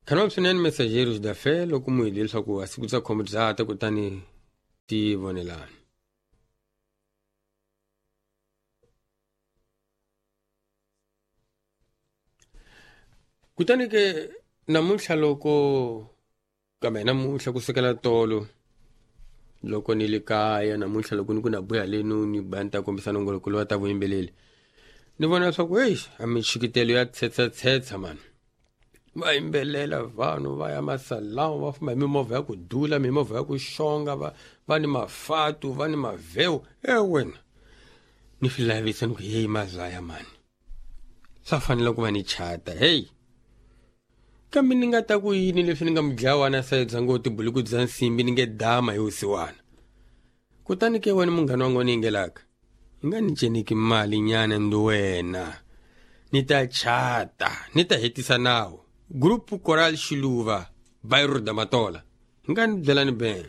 Khanwa swinene Messageiros da Fé loko mu hi leswaku a siku bya khombo bya ta, kutani ti vonelani. Kutani ke namuntlha loko kambe namuntlha ku sukela tolo loko ni le kaya, namuntlha loko ni ku na buya lenu ni ba ni ta kombisa nongoloko lowa ta vuyimbeleri, ni vona leswaku heyi, a mixikitelo ya tshetsa mani. Va yimbelela vanhu va ya masalamu, va famba hi mimovha ya ku dula, mimovha ya ku xonga, va ni mafatu, va ni mavhewu. E wena, ni swi lavisa ni ku heyi mazaya mani, swa fanele ku va ni chata heyi. Kambe ni nga ta ku yini leswi ni nga mudlawana sayibya ngo tibuluku bya nsimbi ni nge dama hi vusiwana. Kutani ke wena munghana wa ngoni yingelaka, i nga ni ceneki mali nyana ndi wena, ni ta chata, ni ta hetisa nawu. Group Choral Xiluva, Bairro da Matola. Hi nga ni byelani ben.